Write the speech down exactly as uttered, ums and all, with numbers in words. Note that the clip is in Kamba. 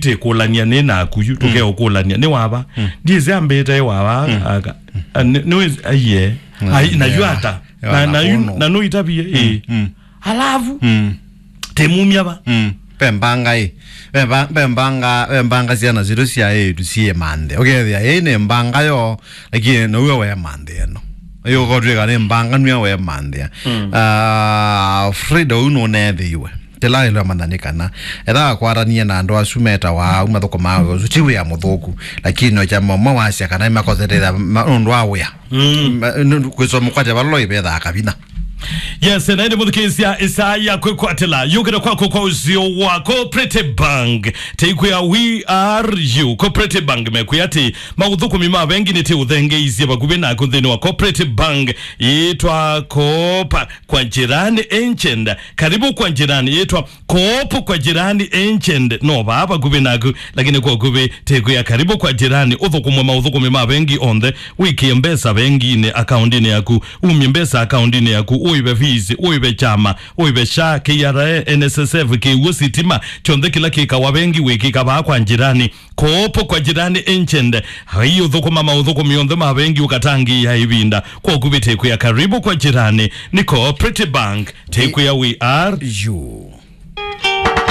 tĩkũlany'a nĩ naku yu, tũkeũkũlany'a nĩ wava. Ndiĩsĩ ambĩte wava, aka, a, nĩ, nĩ wĩsĩ, aiye. Ai, na yu ata? Na, na yu, na nũitavie, ĩ. Alafu, tĩmumya va? Mm. Ve mbanga ĩ. Ve mba-, ve mbanga, ve mbanga syana sitũ sya ĩtu syĩ manthe. Ũkethĩa, ĩĩ nĩ mbanga yo, lakini nĩwe we manthe ĩno. Ĩĩ ũkotw'ĩka nĩ mbanga nĩwe we manthe. Ah, Frida ũu nũnethĩiwe. Kĩla ĩlwe amanya nĩ kana, etha akwatanie na andũ asu metawa au mathũkũmaa wĩa ũsu, ti wĩa mũthũku, lakini no kyama ũmwe wasya kana nĩmakosetethya ma-, nũndũ wa wĩa. Mm. Ma-, nũ-, kwĩsoma kwatya vala loivethaa kavina. Yes, na ĩndĩ mũthikĩĩsya ĩsaa ya kwĩkwatĩla yũkĩte kwaku kwa ũsio wa Cooperative Bank. Teikwĩa we are you. Cooperative Bank mekwĩa atĩ maũthũkũmi ma vengi nĩ tĩũthengeisye vakuvĩ naku nthĩnĩ wa Cooperative Bank yĩtwa Coop kwa Jirani Agent. Karibu kwa Jirani yĩtwa Coop kwa Jirani Agent no vaa vakuvĩ naku, lakini kwa ũkuvĩ tĩkwĩa Karibu kwa Jirani, ũthũkũmwe maũthũkũmi ma vengi onthe, wĩkĩe mbesa venginĩ, akaundinĩ yaku, umye mbesa akaundinĩ yaku, ũĩve fees, ũĩve kyama, ũĩve SHA, K R A, N S S F, kĩw'ũ, sitima, kyonthe kĩla kĩkawa vengi wĩkĩka vaa kwa Jirani. Coop kwa Jirani Agent, ai ũthũkũma maũthũkũmi onthe ma vengi ũkatangĩĩa ĩvinda. Kwa ũkuvĩ tĩkwĩa Karibu kwa Jirani, nĩ Cooperative Bank, tĩkwĩa we are you.